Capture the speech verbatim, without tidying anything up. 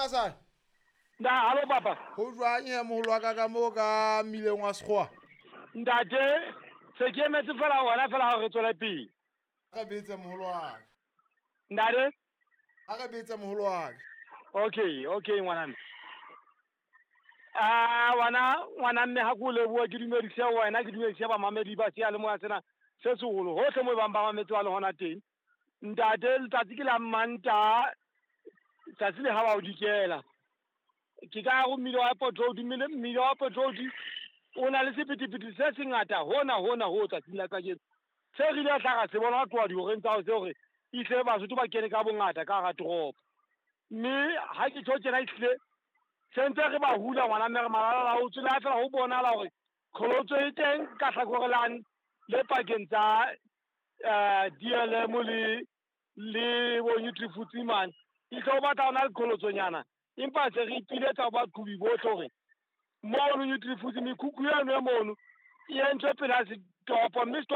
Mokhasane. Na halo papa. Ho jwang he moholo wa ka ka moo ka mmileng wa Sekgowa? Ntate, se ke emetse fela wena fela hore re tswele pele. A re betse moholo wa ka. Ntate? A re betse moholo wa ka. Okay, okay ngwana mme. Ah, ngwana ngwana mme ha ke o leboha ke dumedise wena ke dumedise bamamedi ba seyalemoya sena se seholo hohle moo bang ba mametse ba le hona teng. Ntate, letsatsi ke la Mantaha, tsatsi le ha ba o dikela. Ke ka ho mmila wa Airport Road, mmila wa Airport Road o na le sephethephethe se sengata hona hona ho tsatsing la kajeno. Se re ile tla ra se bona ho tloha dihoreng tsa hoseng hore ehlile Basotho ba kene ka bongata ka hara toropo. Mme ha ke tjho tjena ehlile se ntse re ba hula ngwana mme re malala-a-laotswe le ha feela ho bonahala hore qholotso e teng ka hlakoreng lane le pakeng tsa D L M le le bo Nutrifuthi mane. Ehlile ho batla ho na le qholotsonyana, empa se re ipiletsa ho baqhobi bohle hore mono Nutrifuthi mekhukhu eno e mono e entswe pela setopo, mme setopo